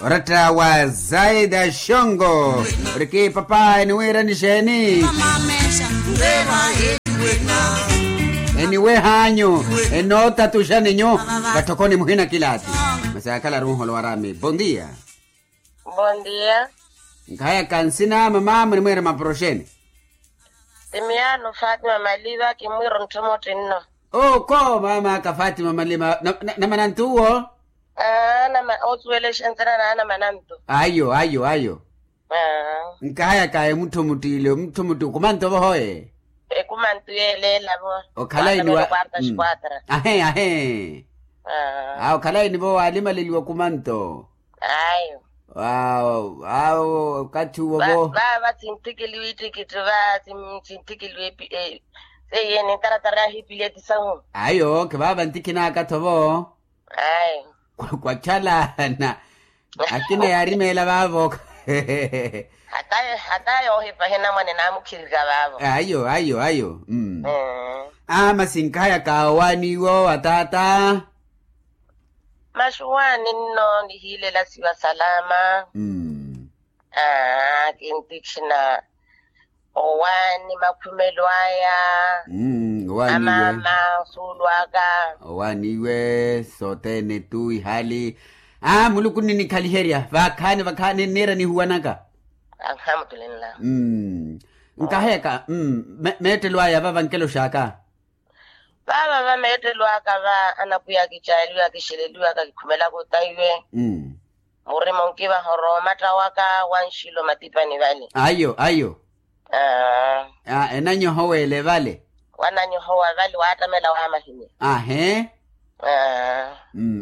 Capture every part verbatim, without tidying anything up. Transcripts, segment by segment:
Oratta wa zaida xongo. Oriki papa eniwiirani xeeni? Eniwehanyu, enootatuxaninyu. Vatthokoni muhina kilaati. Masi akhala runholo warami bondia. Bondia. Nkhayaka nsina mama munimwiira maporoxeni? Timiyaano fatima maliva kimwiira ontthomotti nno. Oko mama aka fatima maliva namanantu uwo. Aa nama osuwelexa nthira naana mananto. Ayo ayo ayo. Nkahayaka emuttho muttiile omuttho mutti okumanto vohoye. Ekumanto yeeleela vo. Okhalaini wa ahe ahe. Aa okhalaini vo waalimaleliwa okumanto. Ayo. Awo okathi uwo vo vaava sintthikiliwa ittikitthi va sintthikiliwa. Seiye nintaratara yahiipileti sahu. Ayo khivaava nttikhinaka-tho vo. Ayi. Kwachalana. Akina yaarimeela vaavo. Hata yoohipa ahinamwane naamukhirika vaavo. Ayo ayo ayo. Aama sinkahayaka owaani iwo ataata. Maxuwaani nno nihiilela siwa salama. Aa kintikhina. Owaani makhumelo aya. Amaama osuulwaka. Owaani iwe sothene tu ihali. Aa muluku nninikhaliherya vakhaani vakhaani nniira nihuwanaka. Anhamutulinla. Nkaheyaka meettelo aya vava nkeloxaka. Vaava va meettelo aka va anapwiya kicaaliwaka kixeleliwaka kikhumelaka otaiwe. Murima onkivahoro omatta waka wanxilo matipani vale. Ayo ayo. Enanyohowa ele vale. Wananyohowa vale waattamela wamahinya. Ahe.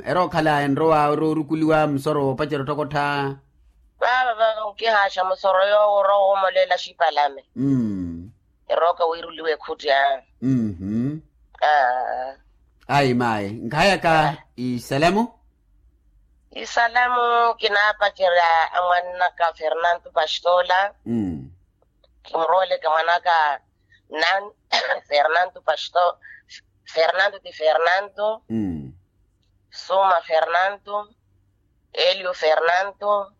Erookhala enrowa oroorukuliwa musoro woopacerya ottokottha. Vaava va onkihaaxa musoro yoowo orowa woomoleela axipalame. Erooka wiiruliwa ekhutti aa. Ayi mayi nkhayaka isalamu. Isalamu kinaapacerya amwannaka fernanto pastola. Kimurooleke mwanaka nan fernanto pastola. Fernanto ti fernanto. Suma fernanto. Elio fernanto.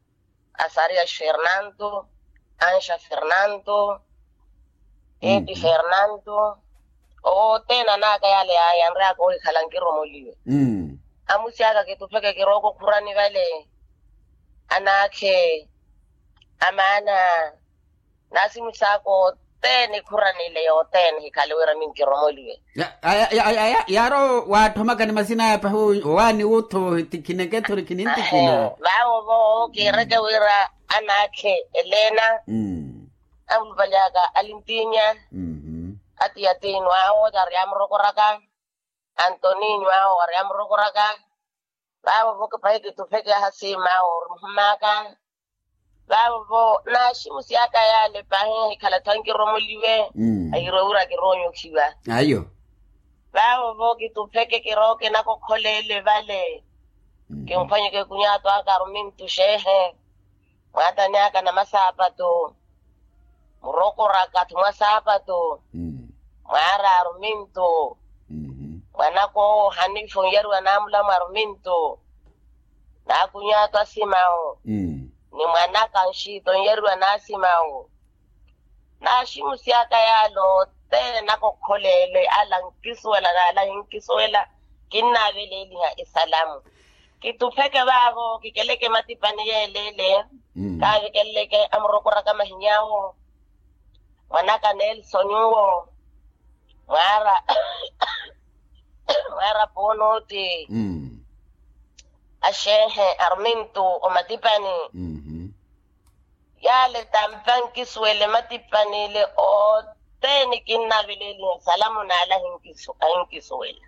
Asarias fernanto. Anxa fernanto. Edi fernanto. Othene anaka yale yanreyaka ohikhala nkiromoliwe. Amusi aka kitupheke kirooka okhurani vale. Anakhe amaana. Naasimu saaka othene ekhuranile yothene hikhale wira minkiromoliwe. Yaaro waatthomaka ni masina aya pahi owaani wuttho tikhineke-tho nikhinintikhina. Vaavo vo kiireke wira anaakhe elena. Amulupalyaka alintinya. Atiyatinu awo yari amurokoraka. Antoninyo awo wari amurokoraka. Vaavo vo kipahi kitupheke ahasiima awo orimuhumaka. Vaavo vo naaximusyaka yale pahi hikhala-tho ankiromoliwe. Ahirowira kiroonyokhiwa. Ayo. Vaavo vo kitupheke kirooke nakokholeele vale. Kimphwanyeke kunyaato aka arumintu xeehe. Mwaatani aka na masaapatu. Murokoraka-tho mwa saapatu. Mwaara arumintu. Mwanaka owo hanifa onyariwa naamulamu arumintu. Naakunyaato asimawu. Ni mwanaka nxiita onyariwa naasimawu. Naaximusyaka yaale othene nakokholeele ala nkisuwela n'ala hinkisuwela. Kinnaaveleeliha esalamu. Kitupheke vaavo kikeleke matipani yeeleele. Kaavikeleke amurokoraka mahinyawo. Mwanaka nelson uwo. Mwaara mwaara poonoti. Axeehe armintu omatipani. Yaale tampa nkisuwele matipani ile othene kinnaveleeliha salamu n'ala ahinkisuwela.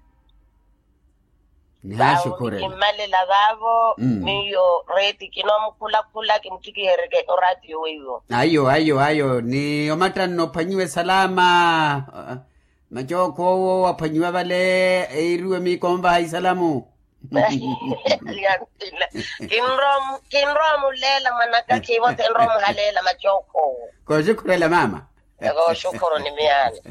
Vaavo nikimmalela vaavo miyo reeti kinoomukhulakhula kimuttikihereke oraatiyo weiwo. Ayo ayo ayo ni omattanna ophwanyiwe salama. Macookho owo aphwanyiwa vale eiriwe miikonvaha isalamu. Kinrowa muleela mwanaka khiivo thenrowa muhaleela macookho owo. Kooxikhurela mama. Kooxikhuru ni miyaani.